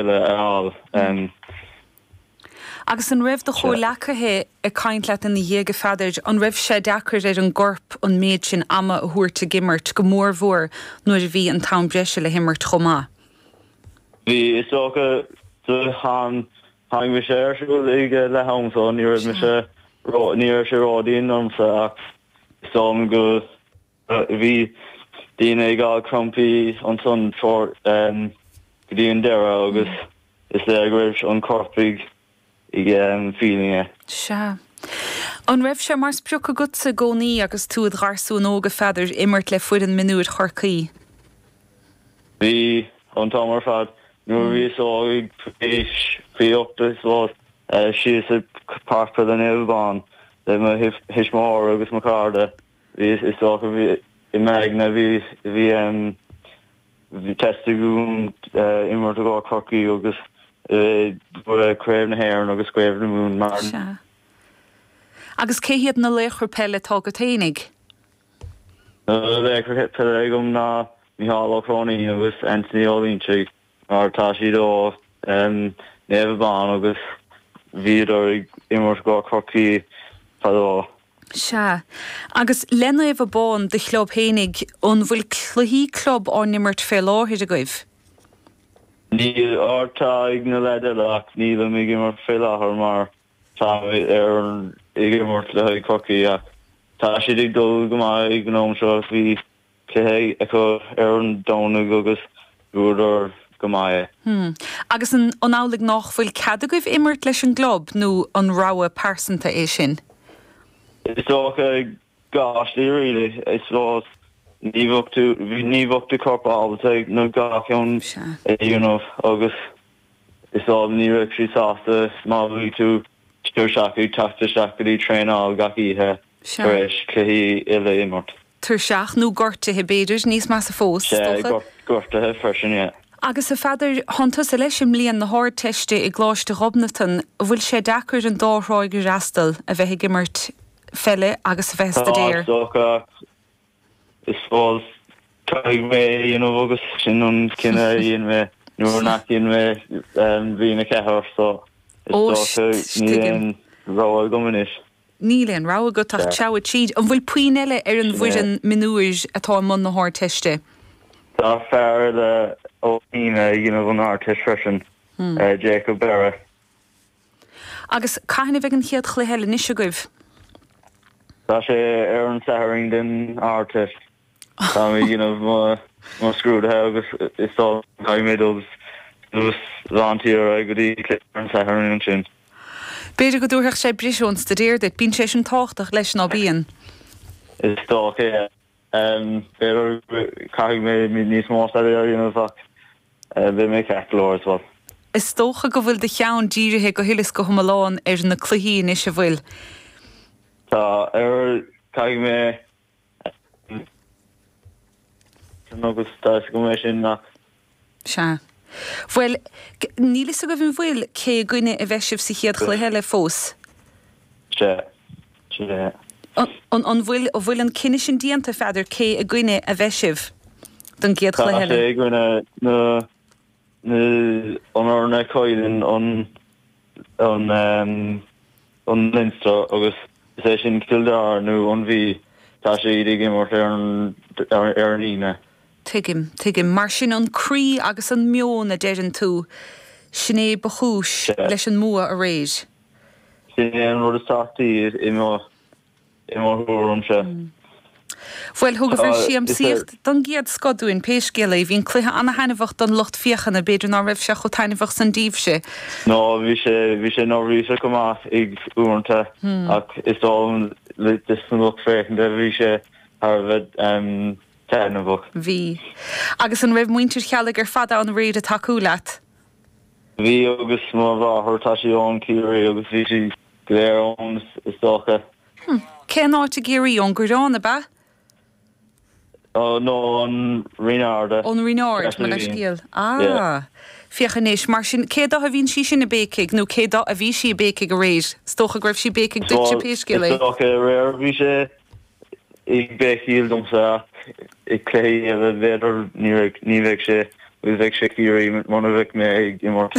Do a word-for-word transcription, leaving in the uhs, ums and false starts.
eile a fháil. Agus an raibh do chomhleacaithe ag caint leat ina dhiaidh, a Pheadair, an raibh sé deacair ar an gcorp an méid sin ama a thabhairt ag imirt, go mórmhór nuair a bhí an t-am breise le himirt chomh maith? Bhí, is dócha, tháinig mise ar siúl ag leath am so ní raibh mise ní raibh sé ródhian ormsa ach is dóigh liom go bhí daoine ag fháil crampaí ansan go dtí an deireadh agus is léir go raibh an corp ag ag feeling é. Sea. An raibh sé mar sprioc agatsa i gcónaí agus tú id gharsún óg, a Pheadair, imirt le foireann mionúir Chorcaí? Bhí, an t-am ar fad. Nuair a bhíos óg ag aois faoi ocht I suppose, síos ag Páirc Peile Naomh Abán le mo thuismitheoir agus mo chairde, bhí, is dócha, bhí i m'aigne bhí, bhí, bhí theastaigh uaim imirt i gcomhair Chorcaí agus Craobh na hÉireann agus Craobh na Mumhan mar. Sea. Agus cé hiad na laochra peile atá agat fhéinig? Na laochra peile agam ná Micheál Ó Cróinín agus Anthony Ó Loinsigh mar tá siad ó Naomh Abán agus bhíodar ag imirt i gcomhair Chorcaí fadó. Sea. Agus le Naomh Abán, do chlub fhéinig, an bhfuil cluichí club á n-imirt fé láthair agaibh? Níl, or tá ag na leaid eile ach nílim ag imirt fé láthair mar táim ar ag imirt le haghaidh Chorcaí ach tá siad ag dul go maith ag an am seo bhí cluiche acu ar an Domhnach agus bhuadar go maith é. Hmm. Agus an an amhlaidh nách bhfuil cead agaibh imirt leis an gclub nó an rogha pearsanta é sin? Is dócha dhá shlí really. I suppose ní bheadh tú ní bheadh do chorp ábalta na dhá cheann a dhéanamh agus is dóigh ní bheadh siad sásta má bhí tú tuirseach ag teacht isteach go dtí traenáil gach oíche tar éis cluichí uile a imirt. Tuirseach nó gortaithe b'fhéidir, níos measa fós, is Sea, dócha. gortaithe freisin, yeah. Agus a Pheadair, thánn tusa leis i mbliain na hArdteiste i gColáiste Ghobnatan, an bhfuil sé deacair an dá thráigh a fhreastal, a bheith ag imirt pheile agus a bheith ag Tá, staidéar? is dócha, ach I suppose caithfidh mé é a dhéanamh agus sin an cinneadh a dhein mé nuair nach dhein mé bliain a ceathair so is Ó, dócha níl tuigim. aon rogha agam anois. Níl aon rogha agat ach treabhadh tríd. An bhfuil puinn eile ar an Sin é. bhfoireann mionúir atá i mbun na hArdteiste? Tá fear eile ó Shíne ag déanamh an Ardteist freisin, Jacob Berra. Agus cathain a bheidh an chéad chluiche eile anois agaibh? Tá sé ar an Satharn den Ardteist. Táim ag déanamh mo mo scrúduithe agus is dóigh caithfidh mé dul suas lán tíre go dtí cluiche ar an Satharn ansin. B'fhéidir go dtabharfadh sé briseadh ón staidéar duit. Bíonn sé sin tábhachtach leis, ná bíonn? Is dócha, yeah. B'fhéidir caithfidh mé níos mó staidéir a dhéanamh ach beidh mé ceart go leor as well. Is dócha go bhfuil do cheann dírithe go huile is go hiomlán ar na cluichí anois, an bhfuil? Tá, ar caithfidh mé agus tá a fhios agam é sin ach. Sea. Bhuel, níl fhios agaibh an bhfuil, cé i gcoinne a bheidh sibh sa chéad chluiche eile fós? Sea. Sin é. An, an bhfuil, an bhfuil an cinneadh sin déanta, a Pheadair, cé i gcoinne a bheidh sibh don gcéad Tá chluiche eile? sé i gcoinne na, na, an fhoireann a chailleann an, an, an Leinster agus is é sin Cill Dara nó an Mhí, tá siad ag imirt ar an, ar an Aoine. Tuigim, tuigim. Mar sin an croí agus an meon a deireann tú, sin é ba chúis leis an mbua aréir. Sin é an rud is tábhachtaí i mo i mo thuairimse. Bhuel, thugaibh Tá, siamsaíocht don gcéad scoth dúinn, pé scéal é. Bhí an cluiche ana-thaitneamhach don lucht féachana, b'fhéidir ná raibh sé chomh taitneamhach san daoibhse. No, bhí sé, bhí sé neirbhíseach go maith ag uaireanta ach is dóigh liom dos na lucht féachana bhí sé thar a bheith taitneamhach. Bhí. Agus an raibh muintir Cheallaigh ar fad ann aréir ag tacú leat? Bhí agus mo mháthair, tá sí ón Ciarraí agus bhí sí go léir ann is dócha. Hm. Cén áit i gCiarraí? Ón gCoireán, ab ea? No, ón Rinn Ard. Ón Rinn Ard, mo leithscéal. Ah. Féach anois, mar sin, cé dó a bhíonn sí sin ag béicigh, nó cé dó a bhí sí ag béicigh aréir? Is dócha go raibh sí ag béicigh duitse, pé scéal é. Is dócha aréir bhí sé ag béicíl domsa ach i cluichí eile b'fhéidir ní bheidh sé Agus bheadh sé ag iarraidh muna bheadh mé ag imirt.